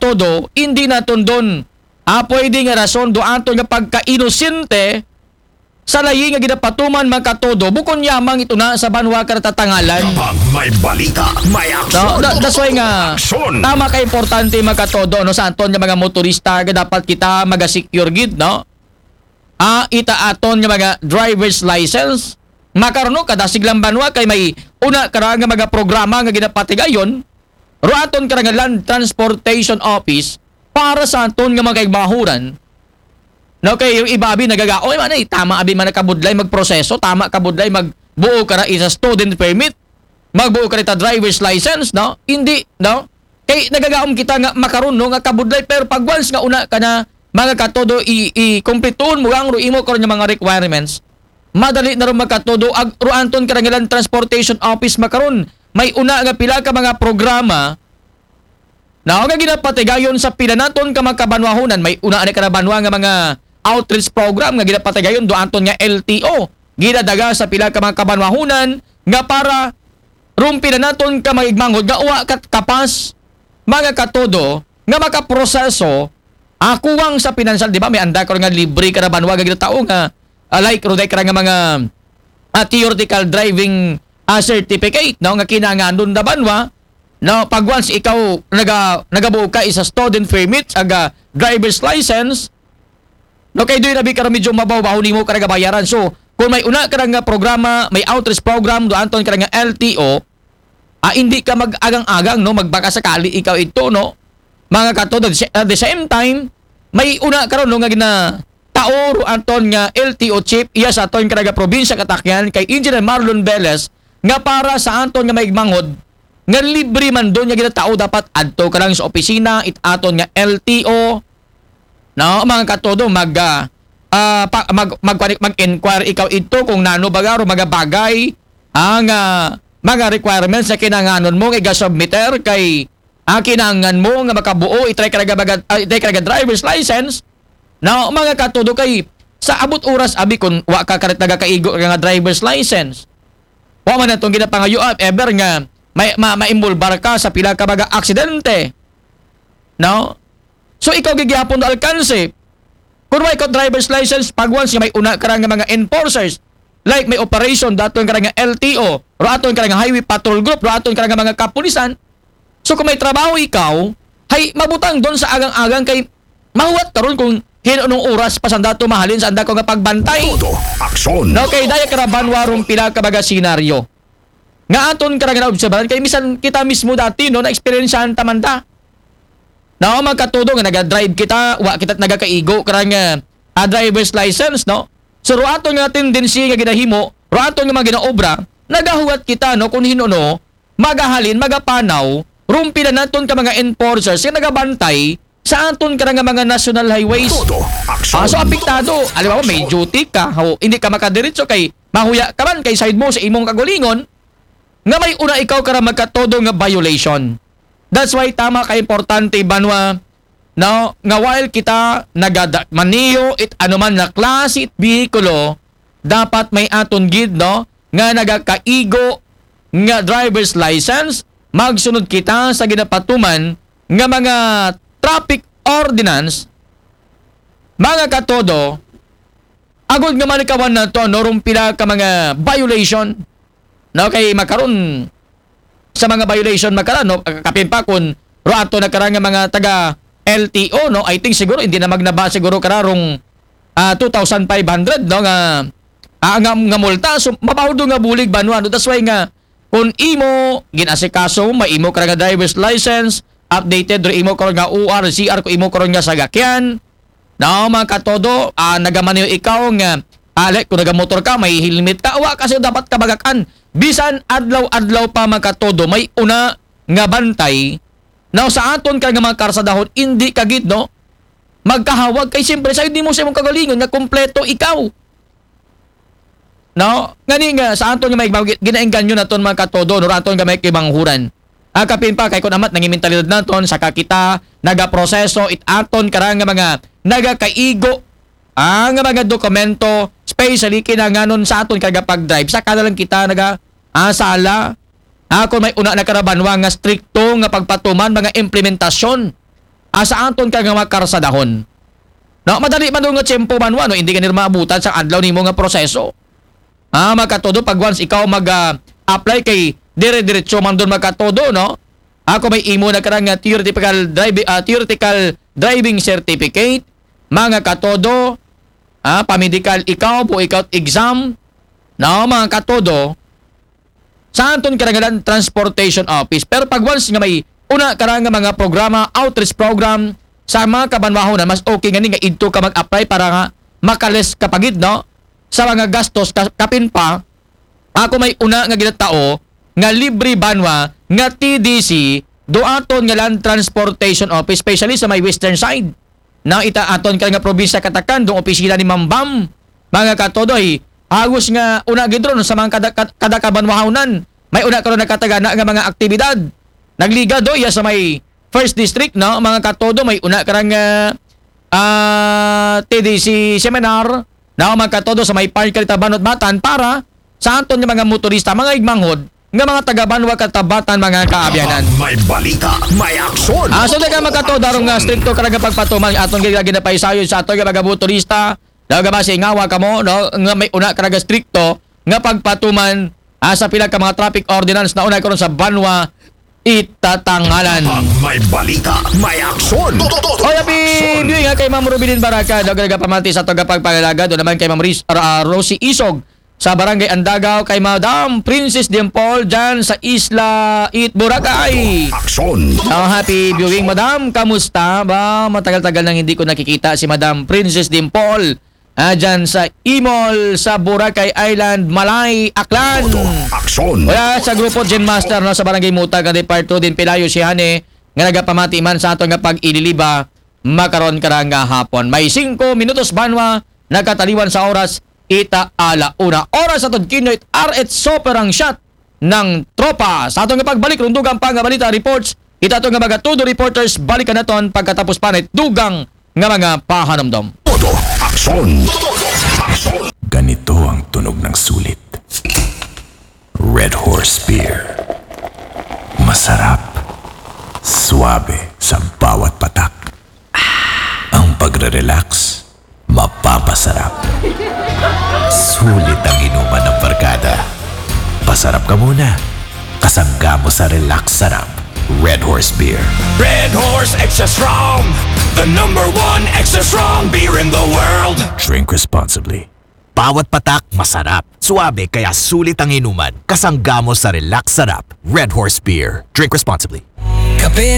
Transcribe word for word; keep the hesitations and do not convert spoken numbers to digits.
katodo, hindi naton don, ah, pwede nga rason do aton nga pagkainosente sa layi nga ginapatuman, mga katodo, bukon yamang ito na sa banwa karatatangalan. Kapag may balita, may aksyon. No, da, that's why nga, Aksyon. Tama ka importante, mga katodo, no, sa aton nga mga motorista, nga dapat kita maga-secure gid, no? Ah, ita aton nga mga driver's license, makaruno kada siglang banwa kay may una kara nga mga programa nga ginapatigayon, ro aton kara nga Land Transportation Office para sa aton nga mga kaigmahuran. No, kay yung iba abi nagagao, "Oy, man, eh, tama abi man nakabudlay magproseso, tama kabudlay magbuo kara isa student permit, magbuo kara ita driver's license, no?" Hindi, no? Kay nagagaom kita nga makaruno nga kabudlay, pero pag once nga una ka na, mga katodo, i, i kumplituon mo ang ro imo karon nga mga requirements, madali na ron, mga katodo, ag ro aton kara nga Land Transportation Office makaron. May una nga pila ka mga programa na nga ginapatigayon sa pila naton ka mga kabanwahunan. May una ni kara banwa nga mga outreach program nga ginapatigayon do aton nga L T O. Ginadaga sa pila ka mga kabanwahunan nga para ron pila naton ka mga igmanghod nga wa kat kapas, mga katodo, nga makaproseso, ah, kuwang sa pinansyal, di ba? May anda karon nga libre kara banwa nga ginatao nga, ah, like, ro day kara nga mga, ah, theoretical driving, ah, certificate, no, nga kinahanglan da banwa, no, pag once ikaw naga, nagabuo ka isa student permit, aga driver's license, no, kay doon abi kara medyo mabaw-baw nimo kara gabayaran. So, kung may una kara nga programa, may outreach program do aton kara nga L T O, ah, hindi ka mag-agang-agang, no, magbaka sakali ikaw ito, no, mga katodo. At the same time, may una karon, no, nga ginatao ro aton nga L T O chief iya sa aton kara nga probinsya katakyan kay Engineer Marlon Velez nga para sa aton nga maigmanghod nga libre man doon nga ginatao, dapat adto ka lang sa opisina it aton nga L T O, no, mga katodo, mag, ah, ah, pa, mag, mag, mag-inquire ikaw ito kung nano baga ro mga bagay ang, ah, mga requirements na kinahanglanon mo nga iga-submiter kay, ah, kinahanglan mo nga makabuo, itry ka nga baga, ah, itry ka nga driver's license, no, mga katodo, kay sa abot oras abi kung wa ka karit nagakaigo nga driver's license, wa man atong ginapangayo, ah, ever nga may ma, maimbolbar ka sa pila ka mga aksidente, no? So ikaw gigihapon do alkanse. Kung may ka driver's license, pag once nga may una kara nga mga enforcers, like may operation daton kara nga L T O, ro aton kara nga highway patrol group, ro aton kara nga mga kapulisan. So kung may trabaho ikaw, hay mabutang doon sa agang-agang kay mahuwat karon kung hin-o nung oras pa sanda to mahalin sa anda ko nga pagbantay. Todo aksyon. No, kay daya kara banwa ron pila ka mga senaryo nga aton kara nga naobserbahan kay misan kita mismo dati, no, na-eksperyensyahan ta man ta. No, mga katodo nga naga-drive kita, wa kita nagakaigo kara nga, ah, driver's license, no? So, ro aton nga tendency nga ginahimo, ro aton nga mga ginaobra, nagahuwat kita, no, kung hin-o, no, magahalin, magapanaw, ron pila naton ka mga enforcers nga nagabantay sa aton kara nga mga national highways. Todo aksyon. Ah, so apektado. Alam mo, may duty ka, ho, hindi ka makadiretso kay mahuya ka man kay side mo sa imong kagulingon nga may una ikaw kara magkatodo nga violation. That's why tama ka importante, banwa, no, nga while kita nagada maniyo it anuman na klase it bihikulo, dapat may aton gid, no, nga nagakaigo nga driver's license, magsunod kita sa ginapatuman nga mga traffic ordinance, mga katodo, agod nga malikawan nato, no, ron pila ka mga violation, no, kay makaron sa mga violation makara, no, kapin pa kung ro ato na kara nga mga taga L T O, no, I think siguro hindi na magnaba siguro kara rong, ah, two thousand five hundred, no, nga, ah, nga, nga multa. So mabaw do nga bulig banwa, no? That's why nga kung imo ginasikaso, may imo kara nga driver's license, updated ro imo karon nga O R, C R, kung imo karon nga sagakyan, no, mga katodo, ah, nagamaniho ikaw nga, ah, like, kung nagamotor ka, may helmet ka, wa kasi dapat kabagakan. Bisan adlaw-adlaw pa, mga katodo, may una nga bantay. Now, sa aton ka nga mga karsadahon, hindi ka gid, no, magkahawag kay siyempre sa hindi mo sa imong kagalingon nga kompleto ikaw. No? Ngani nga sa aton nga may ginaengganyo naton mga katodo, no, aton nga may kimanghuran. Ah, kapin pa kay kun amat nang mentalidad naton sa kakita nagaproseso it aton karang nga mga nagakaigo ang mga dokumento, especially kinanganon sa aton karga pag-drive sa kada lang kita naga, ah, sala. Ah, kung may una na karabanwa nga strikto nga pagpatuman mga implementasyon ah, sa aton ka nga mga karsadahon. No, madali man daw nga tiyempo man wa, no, hindi ka nila maabutan sa adlaw nimo nga proseso. Ah, mga katodo, pag once ikaw mag ah, apply kay dire-diretso man doon, mga katodo, no? Ako may imo na karang nga theoretical driving, ah, theoretical driving certificate, mga katodo, ah, pamedical ikaw, po ikaw exam, no, mga katodo, sa anton karang nga Land Transportation Office. Pero pag once nga may una karang nga mga programa, outreach program sa mga kabanwahonan, mas okay nga ni nga idto ka mag-apply para nga makales ka pagid, no? Sa mga gastos ka, kapin pa, ako may una nga ginatao nga libre banwa nga T D C do aton nga Land Transportation Office, especially sa may western side. Na ita aton ka nga probinsya katakan dong opisina ni Ma'am Bam, mga katodoy. Hagos nga una gid ron sa mga kada, kad- kada kabanwahawnan. May una karon nakatagana nga mga aktibidad. Nagliga do iya sa may first district, no, mga katodo, may una karang ah, ah, T D C seminar, no, mga katodo, sa may park ka Tabanot Batan para sa aton nga mga motorista, mga igmanghod, nga mga taga-banwa katabatan, mga kaabyanan. May balita, may aksyon. Ah, so daga mga katodo, darong nga strikto karang nga pagpatuman aton gilagi na paisayo sa aton nga mga motorista. Daw nga ba singawa kamo, no, nga may una karang nga strikto nga pagpatuman ah, sa pila ka mga traffic ordinance na una karon sa banwa itatangalan. Pag may balita, may aksyon. Oy, happy viewing nga kay Ma'am Rubilin Baraka, daw nga pamati sa aton nga pagpangalagad, o naman kay Ma'am Ris, ah, Rosie Isog sa Barangay Andagaw, kay Madam Princess Dimple dyan sa Isla It Boracay. Aksyon. Oh, happy viewing, Madam. Kamusta? Ba, matagal-tagal nang hindi ko nakikita si Madam Princess Dimple. Ah, dyan sa Imol, sa Boracay Island, Malay, Aklan. Aksyon. Wala sa grupo Gin Master, no, sa Barangay Mutag, nga Departo din Pilayo si Hane, nga nagapamati man sa aton nga pag-ililiba, makaron karang nga hapon. May singko minutos banwa, nakataliwan sa oras, ita ala una. Oras sa Tudkino, it R H Soperang Shot ng Tropa. Sa aton nga pagbalik, rundugan pa nga balita reports, ita aton nga mga todo reporters, balikan naton pagkatapos pa na dugang nga mga pahanumdom. Todo aksyon. Aksyon. Ganito ang tunog ng sulit. Red Horse Beer. Masarap. Suabe sa bawat patak. Ang pagre-relax, mapapasarap. Sulit ang inuman ng barkada. Pasarap ka muna. Kasangga mo sa relax sarap. Red Horse Beer. Red Horse Extra Strong, the number one extra strong beer in the world. Drink responsibly. Bawat patak masarap. Suabe kaya sulit ang inuman. Kasangga mo sa relax sarap. Red Horse Beer. Drink responsibly. Kape